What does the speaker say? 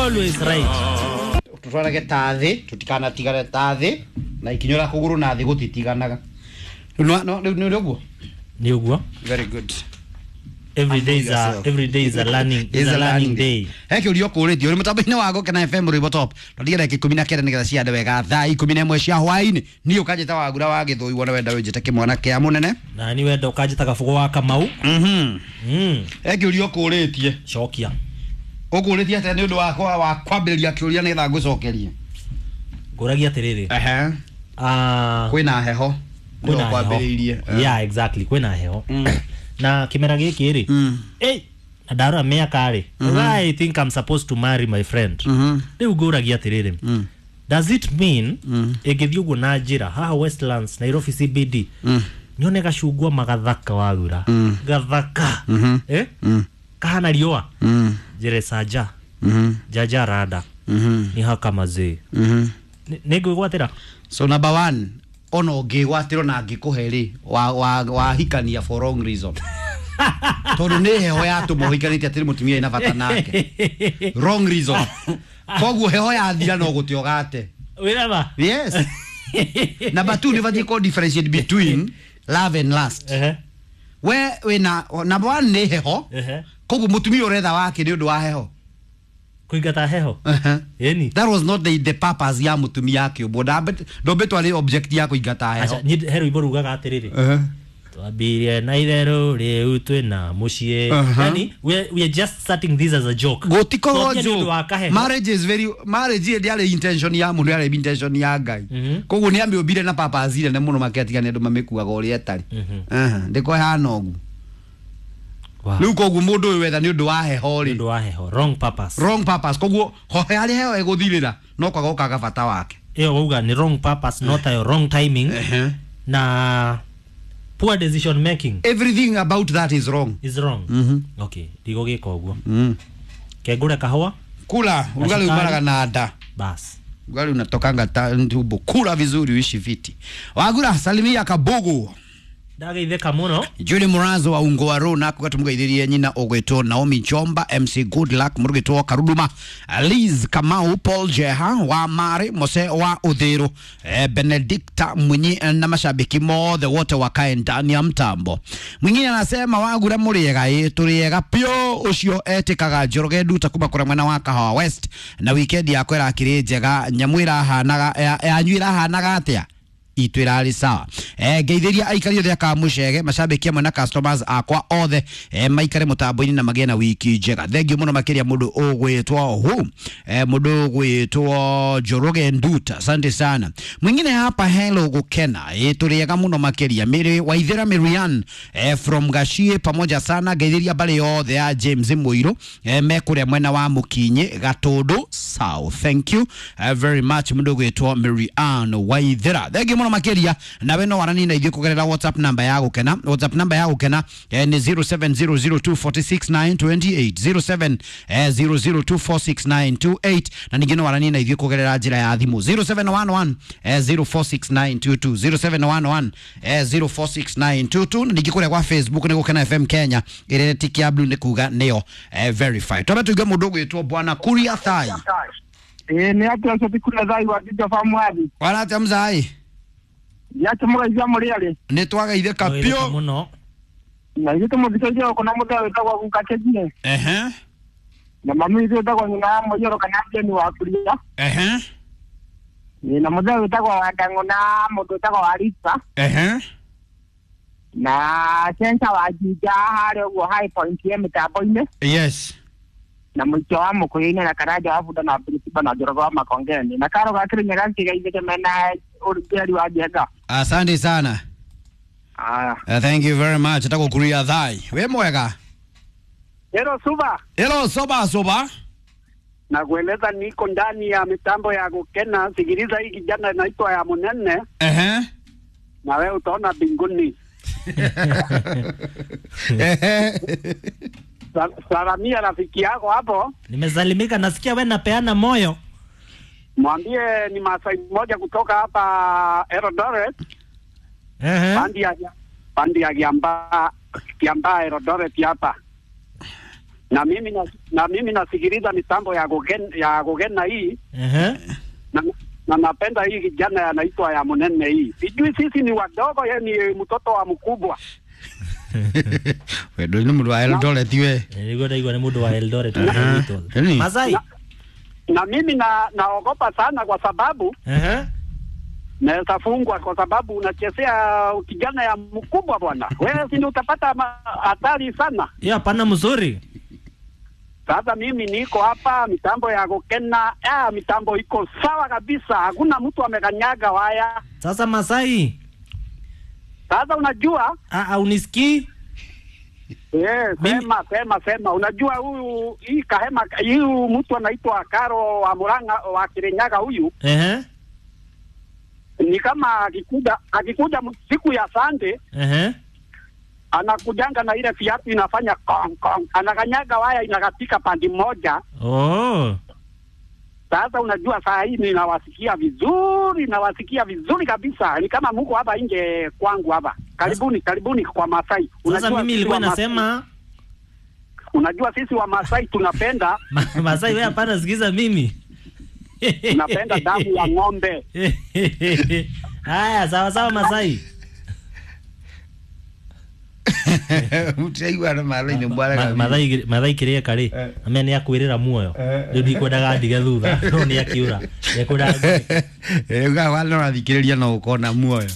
Always right. Tutwarage ta thĩ, tutikanatigane ta thĩ na ikinyũra kũgũrũ na thĩ gũtitiganaga. Rĩu no rĩu nĩ ũguo. Nĩ ũguo. Very good. Every day is a Yourself. every day is a learning is a learning day. He kĩũria ũkũrĩtio ũrĩ mũtambo-inĩ wa Gũkena FM rwĩmbo top twatigĩra ndagĩka 19 nĩgetha ciande wega thaa 11 cia hwaĩ-inĩ. Niĩ ũkanjĩta Wagura wa Gĩthũi, wona wenda wĩnjĩte kĩmwana kĩa mũnene. Na ni wenda ũkanjĩta Gabugo wa Kamau. He kĩũria ũkũrĩtie. Cokia. Ũkũrĩtie atĩa nĩ ũndũ wakwa wa kwambĩrĩria kĩũria nĩgetha ngũcokerie? Ngũragia atĩrĩrĩ. Ehe. Ah, kwĩna heho. Kwĩna heho. Kwambĩrĩirie. Yeah, exactly, kwĩna heho. Na kĩmera gĩkĩ rĩ. Ĩ, na ndarora mĩaka rĩ. I think I'm supposed to marry my friend. Rĩu ngũragia atĩrĩrĩ. Does it mean ĩngĩthiĩ ũguo na njĩra haha Westlands, Nairobi CBD, nyone gacungwa magathaka wagura gathaka, eh? Kahana riũa, njĩre sanja jaja rada nĩ haka mazee, nĩ ngwĩgwatĩra. So number one, ona ũngĩgwatĩrwo na angĩkũhe rĩ, wahikania for wrong reason, tondũ nĩ heho yatũma ũhikanĩtie atĩrĩ mũtumia ĩna bata nake, wrong reason. Koguo heho yathira no gũte ũgate. Wĩraba. Yes. Number two, nĩ batiĩ kũ differentiate between love and lust. We wĩna number one nĩ heho. Koguo mũtumia ũretha wake nĩ ũndũ wa heho. Kũingata heho. Ĩni. That was not the purpose ya mũtumia akĩũmbwo. Ndombĩtwo arĩ object ya kũingata heho. Aca, niĩ he rwĩmbo rugaga atĩrĩrĩ, twambirie na itherũ rĩu twĩna mũciĩ. Yani we are just starting this as a joke. Gũtikorwo Twambia nĩ ũndũ wa joke. kaheho. Marriage is very, marriage ndĩarĩ intention ya mũndũ, yarĩ intention ya Ngai. Koguo nĩ amĩũmbire na purpose nene mũno makĩatiga nĩ andũ mamĩkuaga ũrĩa ĩtarĩ. Ndĩko ĩhana ũguo. Wow. Rĩu koguo mũndũ ũyũ wetha nĩ ũndũ wa heho Nĩ rĩ, ũndũ wa heho, wrong purpose. Wrong purpose. Koguo hohe harĩa heho ĩgũthirĩra no kwaga ũkaga bata wake. Ĩyo wauga nĩ wrong purpose, not a wrong timing na poor decision making. Everything about that is wrong. Is wrong. Okay, ndigũgĩka ũguo. Kengũre kahũa. Kula ugali. Sukari. Umaraga na nda. Bas. Ugali unatokanga tumbo. Kula vizuri uishi fiti. Wagura, salimia Kabugu. Ndageithĩka mũno. Julie Murazo wa Ungoaro nako gatumugeithirie nyina ũgwĩtwo Naomi Chomba, MC Good Luck mũrugĩtwo Karuduma, Liz Kamau, Paul Jeha wa Mari Mose wa Uthiru, Benedicta Mwinyi na mashabiki mothe wote wakae ndani ya mtambo. Mwingine anasema, Wagura mũrĩega? Ĩ, tũrĩega pio. Ũcio etĩkaga Njoroge Nduta kuma kũrĩa mwena wa Kahawa West, na weekend yakwa ĩrakĩrĩ njega. Nyamũ ĩrahanaga yanyu ĩrahanaga atĩa? Itũ ĩrarĩ sawa. Ngeithĩria aikari othe aka mũcege, macambĩki amwe na customers akwa othe, maikare mũtambo-inĩ na magĩe na wiki njega. Thengiũ mũno makĩria mũndũ ũgwĩtwo hu mũndũ ũgwĩtwo Njoroge Nduta, asante sana. Mwingine hapa, hello Gũkena. Ĩ, tũrĩega mũno makĩria. Mary Waithera Marian from Gachie, pamoja sana. Ngeithĩria mbarĩ yothe ya James Mũirũ, me kũrĩa mwena wa Mũkinyĩ Gatũndũ South. Thank you very much mũndũ ũgwĩtwo Marian Waithera, thengiũ mũno makĩria. Nawe no waranie na ithuĩ kũgerera WhatsApp namba ya Gũkena. WhatsApp namba ya Gũkena nĩ 0700246928, 0700246928, na ningĩ no waranie na ithuĩ kũgerera njĩra ya thimũ 0711 046922, 0711 046922, na ningĩ kũrĩa kwa Facebook nĩ Gũkena FM Kenya, ĩrĩa tiki ya blue nĩ kuga nĩyo verify. Twambe tuigue mũndũ ũgwĩtwo Bwana Kuria Thai. Ĩĩ, nĩ atĩa ũcio ti Kuria Thai wa Jinja Famwathi? Waratia mzai? Nĩatĩ mũgeithia mũrĩ arĩ? Nĩ twagaithĩka Ndageithĩka pio. mũno. Na ithuĩ tũmũthikĩrĩrie gũkũ na mũthee wĩtagwo Guka Kĩgie na mami witũ wĩtagwo nyina wa Mũiyũro kana Jeni wa Kuria. Ĩĩ, na mũthee wĩtagwo Wandang'ũ na mũndũ wĩtagwo Warisa na Cenca wa Jinja harĩa ũguo High Point ye mĩtambo-inĩ na mũico wa Mũkũyũ-inĩ na Karanja wa Bunda na Biritiba na Njoroge wa Makongeni na Karo ga Kĩrĩnyaga kĩgeithĩke mena ũrugĩri wa Njenga. Asante sana. Aya. Thank you very much. Etagwo Kuria Thai. Wĩ mwega? Hello Suba. Hello, soba soba. Na kueleza niko ndani ya mitambo ya Gukena. Sikiliza hii kijana inaitwa ya Munene na wewe utaona mbinguni. Salamia rafiki yako hapo, Nimesalimika, nasikia we napeana moyo. Mwambie ni Masai mmoja kutoka hapa Eldoret, pandi ya Kiambaa, Kiambaa Eldoret hapa. Na mimi nasikiliza mitambo ya Gogena hii na napenda hii kijana anaitwa ya Munene hii. Sijui sisi ni wadogo, yeye ni mtoto wa mkubwa. Wendo nĩ mũndũ wa Eldoret we. Nĩguo ndaigua nĩ mũndũ wa Eldoret. Nĩ. Masai. Na mimi naogopa sana kwa sababu naweza fungwa kwa sababu unachezea kijana ya mkubwa bwana. Wewe si ndio utapata hatari sana. Hiyo hapana mzuri. Sasa mimi niko hapa mitambo ya Gokena, mitambo iko sawa kabisa, hakuna mtu amekanyaga waya. Sasa Masai, Sasa unajua ah, unisikii? Sema sema sema, unajua huyu hii kahema huyu mtu anaitwa Karo wa Murang'a wa Kirinyaga huyu ni kama akikuja siku ya Sunday anakujanga na ile viatu inafanya kong kong, anakanyaga waya inakatika pandi moja. Oh. Sasa unajua saa hii ninawasikia vizuri, nawasikia vizuri kabisa, ni kama mko hapa nje kwangu hapa. Karibuni, karibuni kwa Masai. Sasa Unajua mimi sisi nilikuwa wa Masai- nasema unajua sisi wa Masai tunapenda Masai, wewe hapana sikiza mimi. Tunapenda damu ya ng'ombe. Haya, sawa sawa Masai. Mutiraigua na maraini mbwara. Mathai Mathai kiria kari amea nĩ akwĩrĩra muoyo rĩu ndikwendaga ndige thutha no nĩ akiũra ekwendaga Uga wale ũrathikĩrĩria no ũkona muoyo.